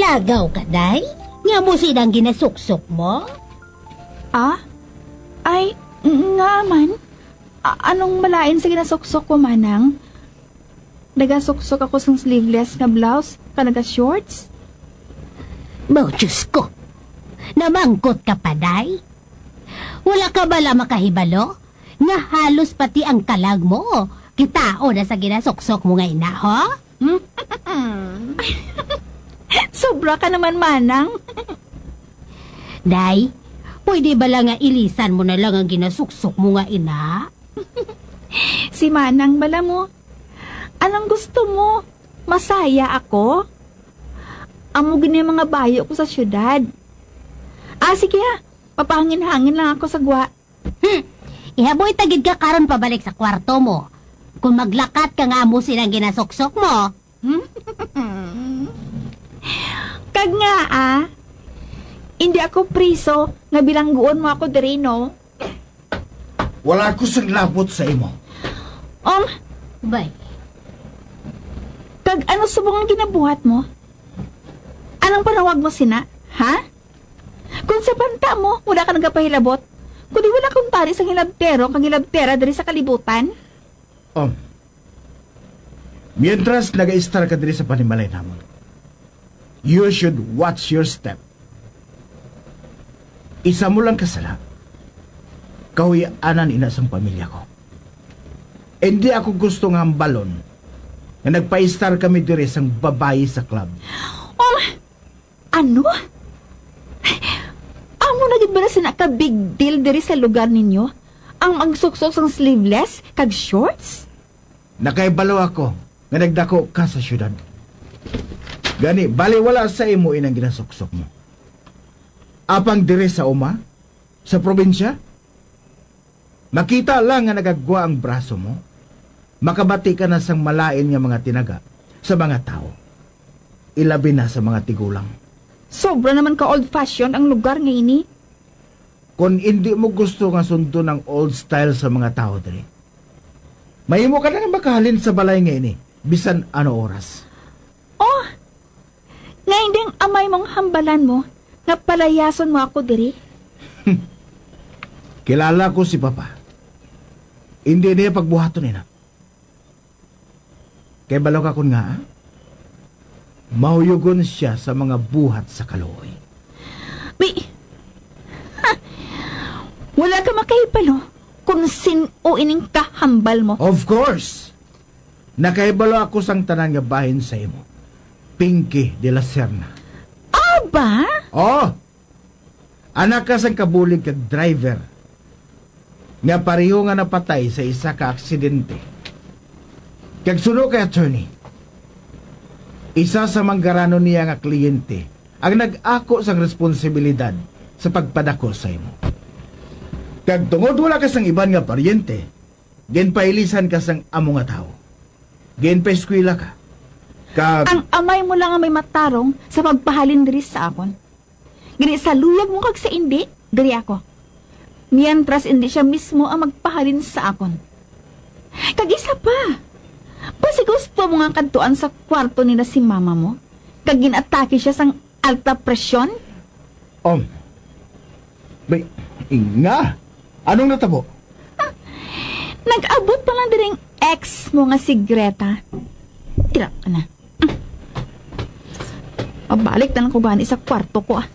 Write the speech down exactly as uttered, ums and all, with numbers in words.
Agaw ka, day? Nga mo sila ang ginasuksok mo? Ah? Ay, ng-, nga man. A-, anong malain sa ginasuksok ko, manang? Nagasuksok ako sang sleeveless nga blouse, ka naga-shorts? Mo, Diyos ko! Namangkot ka pa, day? Wala ka bala makahibalo nga halos pati ang kalag mo kitaon na sa ginasuksok mo nga ina, ho? Sobra ka naman, manang. Day, pwede bala nga ilisan mo na lang ang ginasuksok mo nga ina? Si manang bala mo. Anong gusto mo? Masaya ako? Amo gini ang mga bayo ko sa syudad. Ah, sige ha. Papahangin-hangin lang ako sa gwa. Hmm. Ihaboy ta gid ka karon pabalik sa kwarto mo. Kung maglakat ka nga amo sila ang ginasuksok mo. Kag nga, ah, hindi ako priso nga bilangguon mo ako diri, no? Wala ko sing labot sa imo. Um, Bay. Kag ano subong ang ginabuhat mo? Anong panawag mo sina? Ha? Kung sa banta mo, wala ka nagapahilabot, kundi wala kang tari sang hilabtero kag hilabtera diri sa kalibutan? Um, mientras nagaistar ka diri sa panimalay namon, you should watch your step. Isa mo lang kasala, kahuy-anan ina sang pamilya ko. Hindi ako gusto nga hambalon nga nagpaistar kami diri sang babayi sa club. Um, ano? Amo na gid bala sina ka big deal diri sa lugar ninyo ang magsuksok sang sleeveless kag shorts? Nakahibalo ako nga nagdako ka sa syudad. Gani, baliwala sa imo inang ginasuksok mo. Apang diri sa uma, sa probinsya, makita lang nga nagagwa ang braso mo, makabati ka na sang malain nga mga tinaga sa mga tawo, ilabi na sa mga tigulang. Sobra naman ka old-fashioned ang lugar nga ini. Kon indi mo gusto nga sundon ang old style sa mga tawo diri, mahimo ka na nga makahalin sa balay nga ini bisan ano oras. Oh, nga hindi ang amay mong hambalan mo nga palayason mo ako diri? Kilala ko si Papa. Hindi niya pagbuhaton ina. Kay balo ka kon nga, mahuyugon siya sa mga buhat sa kaluoy. May, ha! Wala ka makahibalo kung sin-o ining kahambal mo. Of course! Nakahibalo ako sang tanan nga bahin sa imo, Pinky de la Serna. Aba? Oh! Anak ka sang kabulig kag driver nga pareho nga napatay sa isa ka aksidente. Kag suno kay attorney, isa sa manggaranon niya nga kliyente ang nag-ako sang responsibilidad sa pagpadako sa imo. Kag tungod wala ka sang iban nga paryente, ginpailisan ka sang amo nga tawo. Ginpaeskwela ka. Kag Ang amay mo lang ang may matarong sa pagpahalin diri sa akon. Gani sa luyag mo kag sa indi, diri ako. Mientras indi siya mismo ang magpahalin sa akon. Kag isa pa, basi gusto mo nga kadtuan sa kwarto nila si mama mo, kag ginatake siya sang alta presyon? Um, may, nga, anong natabo? Nag-abot pa lang diri ang ex mo nga si Greta. Tira ka na. Mabalik na lang ko gani sa kwarto ko, ah.